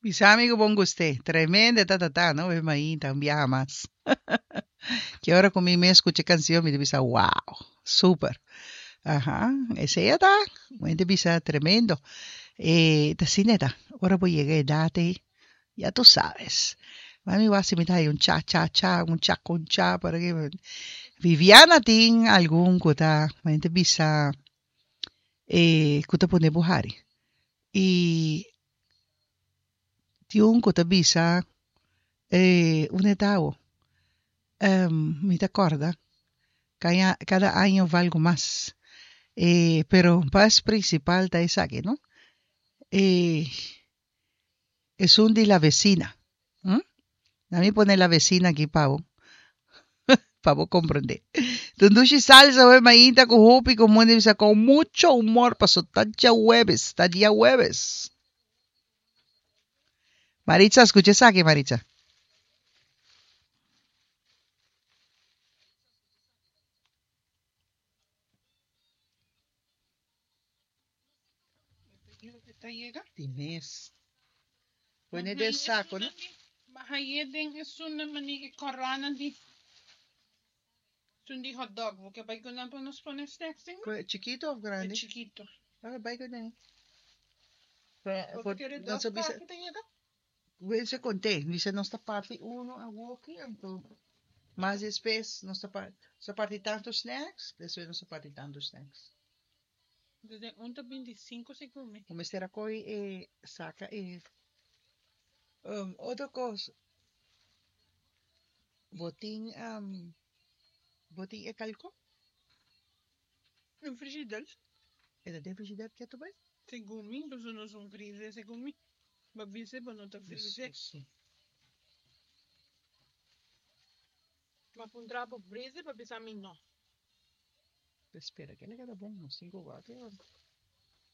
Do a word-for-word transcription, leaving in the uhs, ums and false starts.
Bisa mi ku bon gust'é. Tremendo ta ta ta, no? Be mainta, un biaha mas. Ki ora ku mi mes skucha e kansion, mi ta bisa, wow, super. Aha, esei a ta. Mi ta bisa tremendo. E ta asina e ta. Ora bo yega e edat ei, ya tu sabes. Mami wak si mi ta haña un cha cha cha, un cha con cha por aki. Viviana tin algun ku ta, mi ta bisa, e ku ta pone bo hari. I tin un ku ta bisa, e un e ta awo? Mi ta kòrda, kaña, kada año valgo mas. E, pero mas prinsipal ta esaki, no? E, esun di la vecina. Hm? Na mi pone la vecina aki pa bo, pa bo comprende. Tundushi salsa we mainta ku hopi ku munde bisa con mucho humor paso ta djahuebes, ta diahuebes. Maritza, skucha esaki, Maritza. Di mes. Pone den saco, no? Bahayé den esun mani e corona di esun di hot dog. Bo ke bai ku nan pa nos pone snacks den? Chikito of E grandi? chikito. Ah, bai ku nan. Bo kere dos parti ta yega? Wense conté. Dice nos ta parti uno awoki, anto mas despues nos ta parti, nos ta parti tanto snacks, despues nos ta parti tanto snacks. Desde un ta binti sinku segun mi. Bo mester a koy e saka e um, otro kos. Bo tin um, bo tin e kalko? Den frigider. E ta den frigider ketu bai? Segun mi, pasobra nos un freezer segun mi. Bo bisa bo no ta freezer. Si. Ma puntra bo freezer pa bisa mi no. Espera, ke le keda bon? Nos tin ku wak.